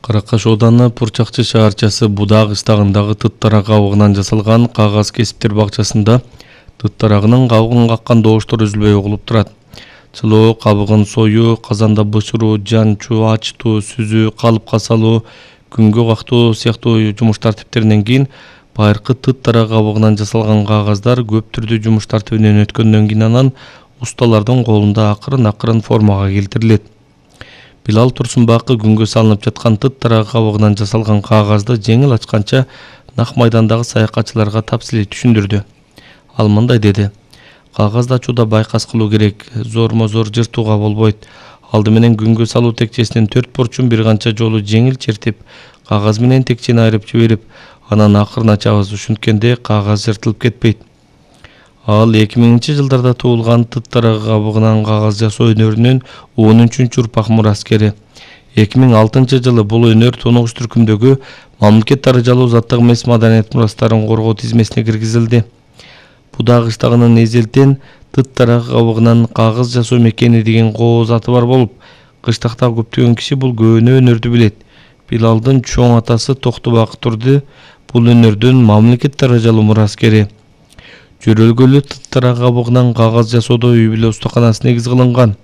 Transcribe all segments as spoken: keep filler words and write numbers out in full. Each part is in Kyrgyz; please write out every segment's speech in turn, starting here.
Каракаш ооданы Пурчакчы шаарчасы Будаа кыштагындагы тыт тарак кабыгынан жасалган кагаз кесиптер бакчасында тыт тарагынын кабыгын каккан добуштор үзүлбөй угулуп турат. Чылоо, кабыгын союу, казанда бышыруу, жанчуу, ачтуу, сүзүү, калыпка салуу, күнгө кактоо сыяктуу жумуш тартиптеринен кийин байыркы тыт тарак кабыгынан жасалган кагаздар көп түрдүү жумуш тартибинен өткөндөн кийин анан усталардын колунда акырын-акырын формага келтирилет. Билал Турсунбакы күнгө салынып жаткан тыт тарак кабыгынан жасалган кагазды жеңил ачканча нак майдандагы саякатчыларга тапсилий түшүндүрдү. Ал мындай деди: кагазды ачууда байкас кылуу керек, зормо-зор жыртууга болбойт. Алды менен күнгө салуу текчесинин төрт бурчун бир канча жолу жеңил чертип, кагаз менен текчени айырып жиберип, анан акырын ачабыз, ушинткенде кагаз жыртылып кетпейт. Ал эки миңинчи жылдарда туулган тыт тарак кабыгынан кагаз жасоо өнөрүнүн он үчүнчү урпак мураскери. эки миң алтынчы жылы бул өнөр тоногуч түркүмдөгү мамлекет даражалуу заттык эмес маданият мурастарын коргоо тизмесине киргизилди. Будаа кыштагынын эзелтен тыт тарак кабыгынан кагаз жасоо мекени деген кооз аты бар болуп, кыштакта көптөгөн киши бул көөнө өнөрдү билет. Билалдын чоң атасы Токтобак Турду бул өнөрдүн мамлекет даражалуу мураскери. Жөрөлгөлүү тыт тарак кабыгынан кагаз жасоодо үй бүлө устаканасы негиз кылынган.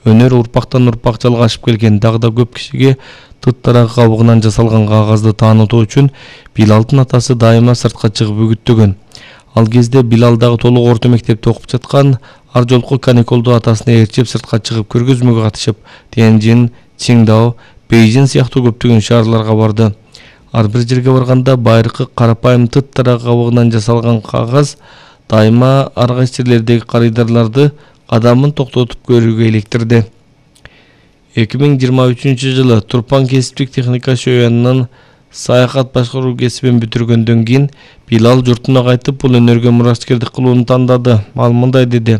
Өнөр урпактан урпак жалгашып келген. Дагы да көп кишиге тыт тарак кабыгынан жасалган кагазды таанытуу үчүн Билалдын атасы дайыма сыртка чыгып үгүттөгөн. Ал кезде Билал дагы толук орто мектепте окуп жаткан, ар жолку каникулду атасына ээрчип сыртка чыгып көргөзмөгө катышып, Тяньжин, Чиңдао, Бейжин сыяктуу көптөгөн шаарларга барды. Ар бир жерге барганда байыркы карапайым тыт тарак кабыгынан жасалган кагаз дайыма ар кайсы жерлердеги карыйдарларды кадамын токтотуп көрүүгө иликтирди. эки миң жыйырма үчүнчү жылы Турпан кесиптик техника шөянынын саякат башкаруу кесибин бүтүргөндөн кийин Билал журтуна кайтып бул өнөргө мураскердик кылууну тандады. Ал мындай деди: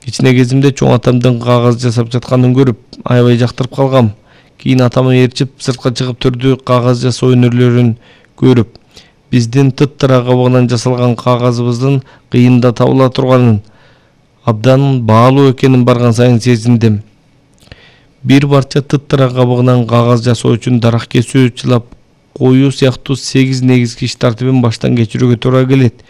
кичине кезимде чоң атамдын кагаз жасап жатканын көрүп, аябай жактырып калгам. Кийин атамы ээрчип сыртка чыгып түрдүү кагаз жасоо өнөрлөрүн көрүп, биздин тыт тарак кабыгынан жасалган кагазыбыздын кыйында табыла турганын, абдан баалуу экенин барган сайын сезиндим. Бир барча тыт тарак кабыгынан кагаз жасоо үчүн дарак кесүү, чылап коюу сыяктуу сегиз негизги иш тартибин баштан кечирүүгө туура келет.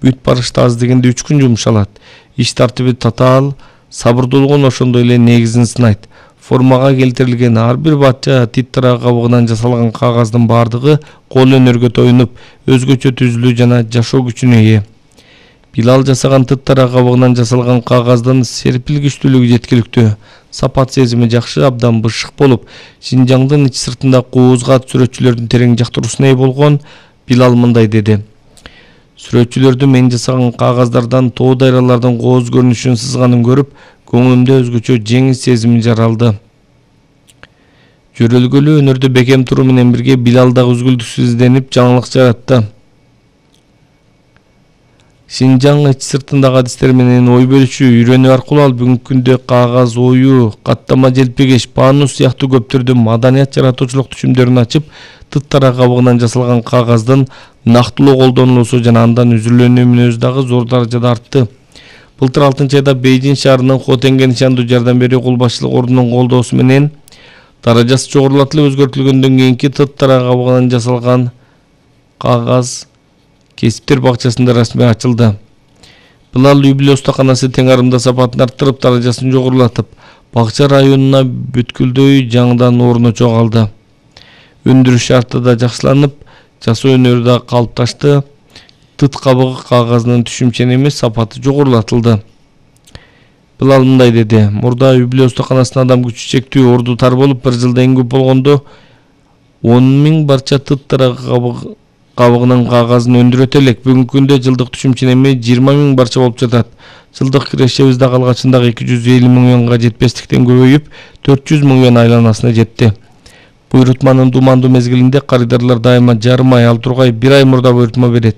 Бүт барышта аз дегенде үч күн жумшалат. Иш тартиби татаал, сабырдуулугун ошондой эле негизин сынайт. Формага келтирилген ар бир барча тыт тарак кабыгынан жасалган кагаздын бардыгы кол өнөргө тоюнуп, өзгөчө түзүлүү жана жашоо күчүнө ээ. Билал жасаган тыт тарак кабыгынан жасалган кагаздын серпилгичтүүлүгү жеткиликтүү, сапат сезими жакшы, абдан бышык болуп, Шинжаңдын ич сыртында куузгат сүрөтчүлөрдүн терең жактыруусуна ээ болгон. Билал мындай деди: сүрөтчүлөрдүн мен жасаган кагаздардан тоо дайралардын кооз көрүнүшүн сызганын көрүп, көңүлүмдө өзгөчө жеңил сезим жаралды. Жөрөлгөлүү өнөрдү бекем туруу менен бирге Билал дагы үзгүлтүксүз изденип, жаңылык жаратты. Шинжаң ич сыртындагы адистер менен ой бөлүшүү, үйрөнүү аркылуу ал бүгүнкү күндө кагаз оюу, каттама желпегеш, панус сыяктуу көп түрдүү маданият жаратуучулук түшүмдөрүн ачып, тыт тарак кабыгынан жасалган кагаздын нактылуу колдонулуусу жана андан үзүрүлөнүү мүнөзү дагы зор даражада артты. Былтыр алтынчы айда Бейжин шаарынын Хотенге нишандуу жардам берүү кул башчылык ордунун колдоосу менен даражасы жогорулатылып өзгөртүлгөндөн кийинки тыт тарак кабыгынан жасалган кагаз кесиптер бакчасында расмий ачылды. Билал үй бүлө устаканасы тең арымда сапатын арттырып, даражасын жогорулатып, бакча районуна бүткүлдөй жаңыдан орно чогалды. Өндүрүш шарты да жакшыланып, жасоо өнөрү да калыпташты. Тыт кабыгы кагазынын түшүмчан эмес, сапаты жогорулатылды. Билал мындай деди: мурда үй бүлө устаканасына адам күчү чектүү, орду тар болуп, бир жылда эң көп болгондо он миң барча тыт тарак кабыгынын кагазын өндүрөт элек. Бүгүнкү күндө жылдык түшүмчан эми жыйырма миң барча болуп жатат. Жылдык кирешебиз дагы алгачындагы эки жүз элүү миң юанга жетпестиктен көбөйүп, төрт жүз миң юан айланасына жетти. Буйрутманын думандуу мезгилинде карыдарлар дайыма жарым ай, ал тургай бир ай мурда буйрутма берет.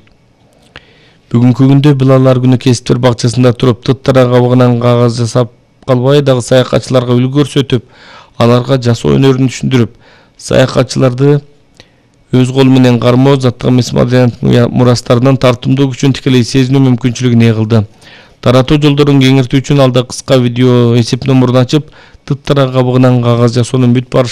Бүгүнкү күндө Билал ар күнү кесиптер бакчасында туруп, тыт тарак кабыгынан кагаз жасап калбай, дагы саякатчыларга үлгү көрсөтүп, аларга жасоо өнөрүн түшүндүрүп, саякатчыларды өз колу менен кармоо, заттык эмес маданият мурастарынын тартымдуу күчүн тикелей сезинүү мүмкүнчүлүгүн ээ кылды. Таратуу жолдорун кеңиртүү үчүн алда кыска видео эсеп номурун ачып, тыт тарак кабыгынан кагаз жасоонун бүт барышын